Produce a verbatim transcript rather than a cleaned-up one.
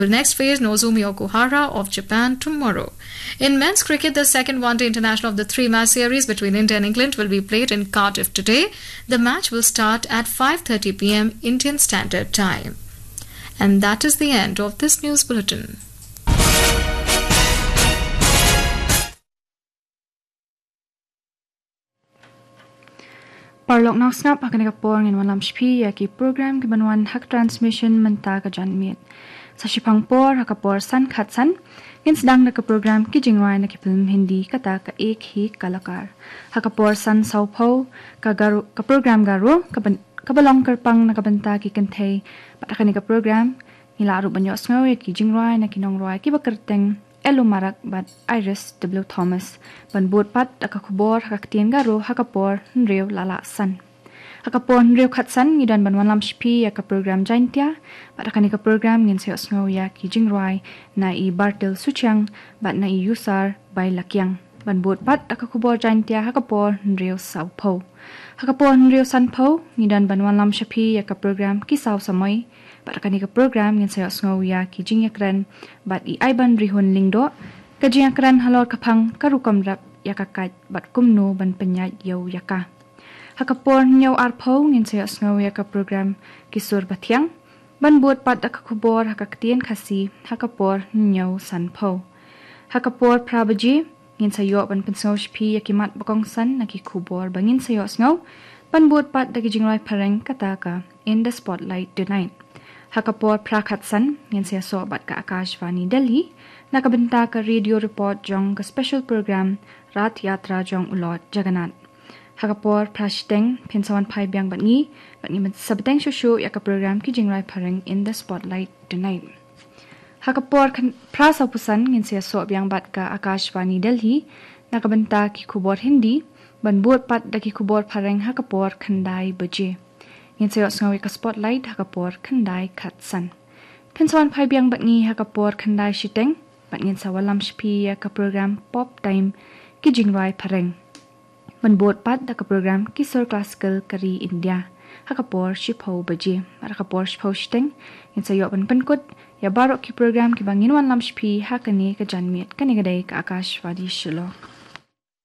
will next face Nozomi Okuhara of Japan tomorrow. In men's cricket, the second one-day international of the three-match series between India and England will be played in Cardiff today. The match will start at five thirty p m Indian Standard Time. And that is the end of this news bulletin. Paralok nongsngap, ha kane ka por ngin wanlam sha phi ïa ki program kiban wan ha ka transmission mynta ka janmiet. Sa shiphang por, ha ka por san khatsan, ngin sdang da ka program ki jingrwai na ki film Hindi kata ka Ek Hi Kalakar. Ha ka por san sawphew, ka Garo, ka program Garo, ka ban, kaba long kyrpang na ka bynta ki kynthei. Bad ha kane ka program, ngi lah ruh ban ïohsngew ïa ki jingrwai na ki nongrwai kiba kyrteng Elo Marak bad Iris W Thomas. Ban bud pat da ka khubor ha ka ktien Garo ha ka por hynriew la lah san. Ha ka por hynriew khatsan ngi don ban wanlam sha phi ïa ka program Jaintia, bad ha kane ka program ngin sa ïohsngew ïa ki jingrwai na i Bartel Suchiang bad na i Yusar Bailakiang. Ban bud pat da ka khubor Jaintia ha ka por hynriew sawphew. Ha ka por hynriew sanphew ngi don ban wanlam sha phi ïa ka program Ki Saw Samoi, bad ha kane ka program ngin sa ïohsngew ïa ki jingïakren bad i Aiban Rihun Lyngdoh, ka jingïakren halor ka phang ka rukom rep ïa ka kait bad kumno ban pynïaid ïew ïa ka. Ha ka por hynñiew arphew ngin sa ïohsngew ïa ka program Ki Sur Bathiang. Ban bud pat da ka khubor ha ka ktien Khasi ha ka por hynñiew sanphew. Ha ka por phra baje ngin sa ïoh ban pynsngew sha phi ïa ki mat ba kongsan na ki khubor ba ngin sa ïohsngew. Ban bud pat da ki jingrwai phareng kata ka In the Spotlight Tonight. Ha ka por phra khatsan ngin sa ïasoh bad ka Akashvani Delhi na ka bynta ka radio report jong ka special program Rath Yatra jong u Lord Jagannath. Ha ka por phra shiteng phin sa wan phai biang bad ngi, bad ngin sa bteng shuh shuh ïa ka program ki jingrwai phareng In the Spotlight Tonight. Ha ka por khan-, phra sawphew san ngin sa ïasoh biang bad ka Akashvani Delhi na ka bynta ki khubor Hindi, ban bud pat da ki khubor phareng ha ka por khyndai baje. Ngin sa ïohsngew ïa ka Spotlight ha ka por khyndai khatsan. Phin sa wan phai biang bad ngi ha ka por khyndai shiteng, bad ngin sa wanlam sha phi ïa ka program Pop Time, ki jingrwai phareng. Ban bud pat da ka program Ki Sur Classical ka ri India ha ka por shiphew baje. Bad ha ka por shiphew shiteng ngin sa ïoh ban pynkut ïa baroh ki program kiba ngin wanlam sha phi ha kane ka janmiet. Kane ka dei ka Akashvani Shillong.